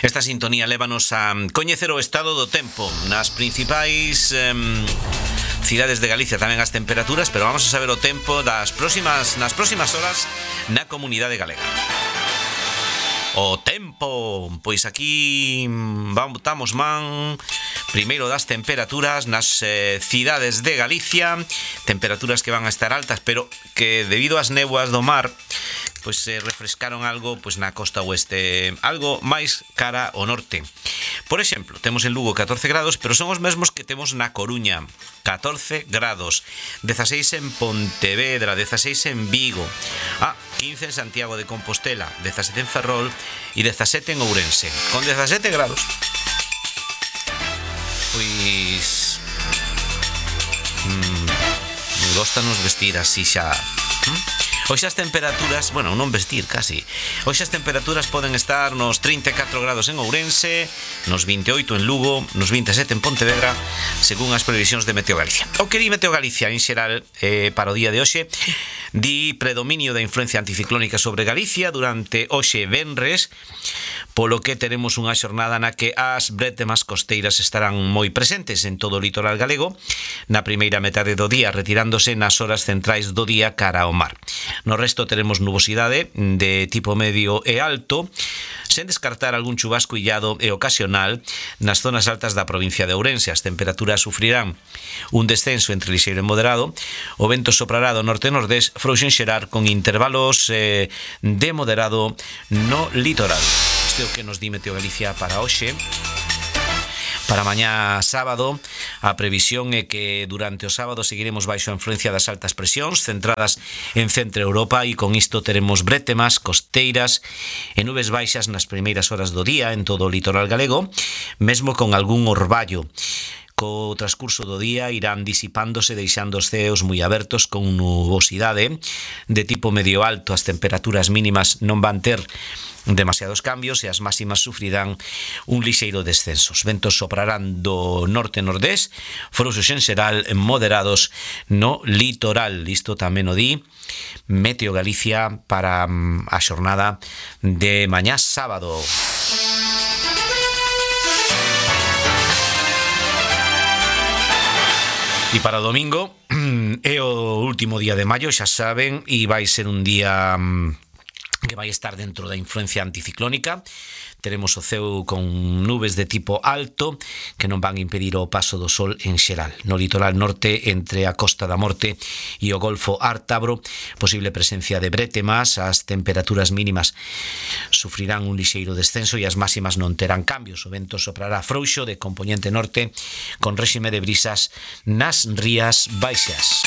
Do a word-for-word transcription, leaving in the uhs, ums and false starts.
Esta sintonía lévanos a coñecer o estado do tempo nas principais eh, cidades de Galicia, tamén as temperaturas, pero vamos a saber o tempo das próximas nas próximas horas na comunidade galega. O tempo, pois aquí vamos, estamos man primeiro das temperaturas nas eh, cidades de Galicia, temperaturas que van a estar altas, pero que debido ás néboas do mar pois se refrescaron algo pois na costa oeste, algo máis cara ao norte. Por exemplo, temos en Lugo catorce grados, pero son os mesmos que temos na Coruña, catorce grados, dezaseis en Pontevedra, dezaseis en Vigo, ah, quince en Santiago de Compostela, dezasete en Ferrol e dezasete en Ourense, con dezasete grados. Pois mmm, góstanos vestir así xa. ¿Mm? Hoxe as temperaturas, bueno, non vestir casi. Hoxe as temperaturas poden estar nos trinta e catro grados en Ourense, nos vinte e oito en Lugo, nos vinte e sete en Pontevedra, según as previsións de Meteo Galicia. O que di Meteo Galicia en xeral eh, para o día de hoxe, di predominio da influencia anticiclónica sobre Galicia durante hoxe venres, polo que teremos unha xornada na que as brétemas costeiras estarán moi presentes en todo o litoral galego, na primeira metade do día, retirándose nas horas centrais do día cara ao mar. No resto teremos nubosidade de tipo medio e alto, sen descartar algún chubasco illado e ocasional nas zonas altas da provincia de Ourense. As temperaturas sufrirán un descenso entre lixeiro e moderado, o vento soprará do norte-nordés, frouxo en xerar con intervalos eh, de moderado no litoral. Isto é o que nos di Meteo Galicia para hoxe. Para mañá sábado, a previsión é que durante o sábado seguiremos baixo a influencia das altas presións centradas en Centro Europa e con isto teremos brétemas, costeiras e nubes baixas nas primeiras horas do día en todo o litoral galego, mesmo con algún orballo. Co transcurso do día irán disipándose, deixando os ceos moi abertos con nubosidade de tipo medio alto. As temperaturas mínimas non van ter demasiados cambios e as máximas sufrirán un lixeiro descenso. Os ventos soprarán do norte-nordés, frouxos en xeral moderados no litoral. Isto tamén o di Meteo Galicia para a xornada de mañá sábado. E para o domingo é o último día de maio, xa saben, e vai ser un día que vai estar dentro da influencia anticiclónica. Teremos o ceo con nubes de tipo alto que non van impedir o paso do sol en xeral. No litoral norte, entre a Costa da Morte e o Golfo Ártabro, posible presencia de brétemas. As temperaturas mínimas sufrirán un lixeiro descenso e as máximas non terán cambios. O vento soprará frouxo de compoñente norte con réxime de brisas nas rías baixas.